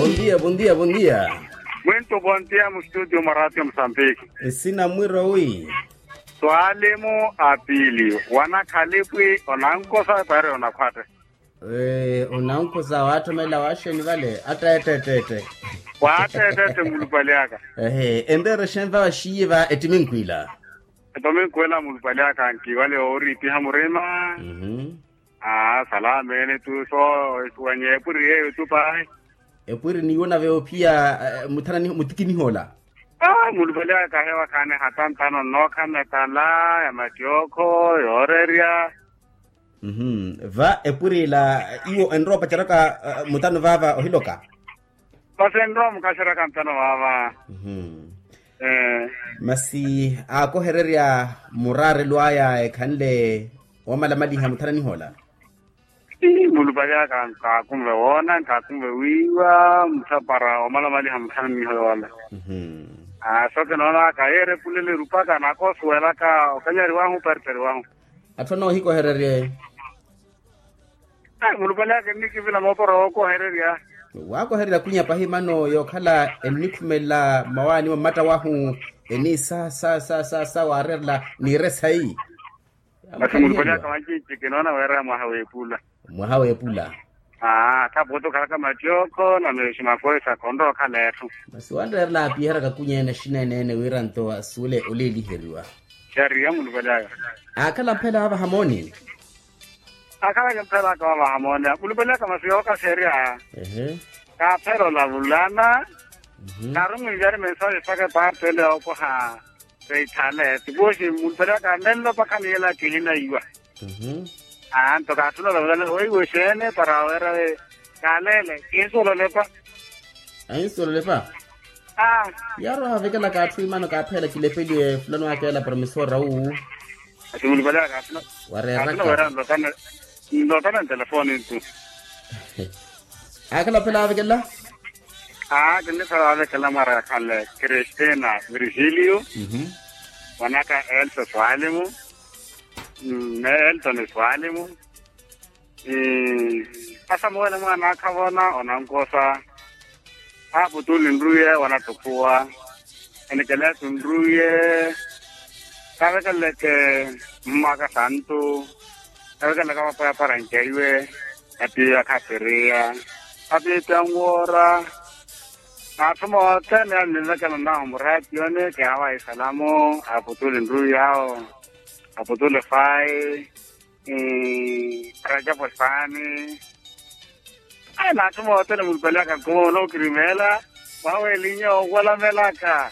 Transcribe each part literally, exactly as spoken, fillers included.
Bondia bondia bondia. Mwintu bondia mu studio mwa ratio musambiki. Esina mwiro wi? Swalimu apili wanakhalipwi onankosa pari onakhwatte. Onankosa waatthomela waxeni vale atta ettettette. Waattettette mulupali aka. Ehe enreere xenva waxiye va ettiminkwila. Ettiminkwila mulupali aka nki wale ooriipiha murima. Aa salameene tu so. Esiwanye epwiri yeeyo tu pahi. Epwiri niiwo nave ophiya muthananiho mutikiniho ola. Mulupali aka hewa khaani hatantano nnookha metala ya mattiokho yoorerya. Va epwiri ila iwo enrowa opaceraka mutano vaava ohiloka. Masi enrowa mukaxeraka mutano vaava. Masi aakohererya muraarelo aya ekhanle omalamaliha muthananiho ola. Mulupali aka nkaakunve woona nkaakunve wiiwa muthapara omalamaliha muthananiho yoola. Aa so kinoona aka yeera epulele erupaka naakosuwelaka okanyariwahu oparipariwahu. Atthu anoohikohererye. Mulupali aka ennikivila moopora wookohererya. Waakohererya kwinya pahi mano yookhala ennikhumelela mmawaani wa mmatta wahu. Eni sa sa sa sa sa waareerela niire sayi. Masi mulupali aka wancinci kinoona weeraya mwaha w'epula. Mwaha w'epula. Aa thaputu okhalaka mattiokho na meexi makoisa khonrowa okhala etthu. Masi wanreerela aapiheraka kunyeene xineeneene wira nto asuwele oliiliheriwa. Xariya mulupali aka. Aakhala mphela aava hamooni. Akhalaka mphela aka waava hamooni mulupali aka masi yookaxerya. Kaaphela olavulana. Kaarumilyari mensaxe saka epaarti ele yookoha. Seithale tipuxi mulupali aka nenlopa khaniyela kihinaiwa. Aa nto kaathuna olavulana weiwe xeene para weera. Kaalele kihinsololepa. Ahinsololepa. Aa. Yaaroha avekelaka atthu imano kaaphela kilepeliwe fulano akeela promisora wu. Ati mulupali aka kaathuna. Wareeraka. Nlotana ntelefoni ntu. Aakhala ophela avekelela. Aa kinniphela avekelela mwaara yakhale kristina virgilio. Mwanaka elsa swalimu. Ni elton swalimu. Asamuwele mwaana akhavona onankosa. Aaputuli nruye wanattuphuwa. Enikeletu nruye. Kavekeleke mmaka santu. Kavekeleke vapwaya para nkeiwe. Atiiya khapiriya. Atiipiya nwoora. N'atthu mothene anilekela nahu muratiyoni kihawahi salamu. Aaputuli nruye awo. Aaputuli fayi. Rajapu esaani. Ayi n'atthu mothene mulupali aka nkumoona okirimeela. Mwawelinye ookolamelaka.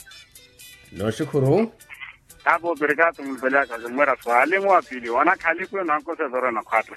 Nooxikhuru. Kaapoopirikaato mulupali aka kimmwera swalimu apili wanakhaliku enankosa ephero enakhwatta.